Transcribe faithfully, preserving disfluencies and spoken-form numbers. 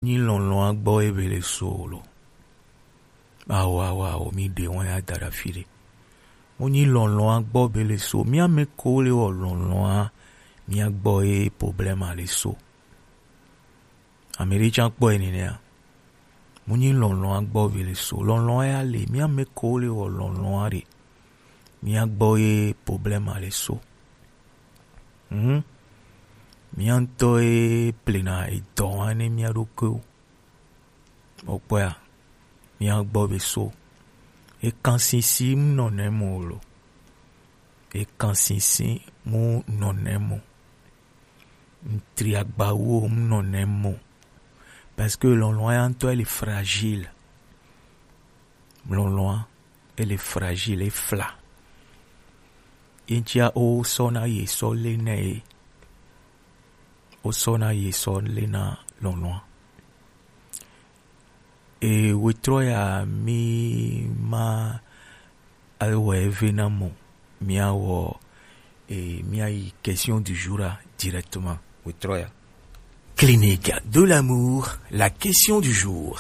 Nyi lɔlɔ̃a gbɔ ebe le so lo. Awo, awo, awo, mi ɖe wɔn ya da ɖe afi ɖe. Mo nyi lɔlɔ̃a gbɔ be le so. Mía mɛ ko le wɔ lɔlɔ̃a, mía gbɔ ye problème le so. Ame ɖe tsã kpɔ ye nenea. Mo nyi lɔlɔ̃a gbɔ be le so. Lɔlɔ̃a ya le, mía mɛ ko le wɔ lɔlɔ̃a ɖe. Mía gbɔ ye problème le so. Hmm. Mía ŋutɔ ye plena edɔ wa ne mía ɖokuiwo. Okpɔa, mía gbɔ be so. Ekansisi mu nɔnɛ mo lo. Ekansisi mu nɔnɛ mo. Ntri agbawo mu nɔnɛ mo. Parce que lɔlɔ̃a ya ŋutɔ ele fragile. Lɔlɔ̃a ele fragile, efla. Ye ŋutia wo sɔ na ye sɔ le nɛ ye. Wo sɔ na ye sɔ le na lɔlɔ̃a. E wetrɔ ya mi ma awɔ eve na mo. Mía wɔ, e, mía yi question du jour a directement. Wetrɔ ya. Clinique de l'amour, la question du jour.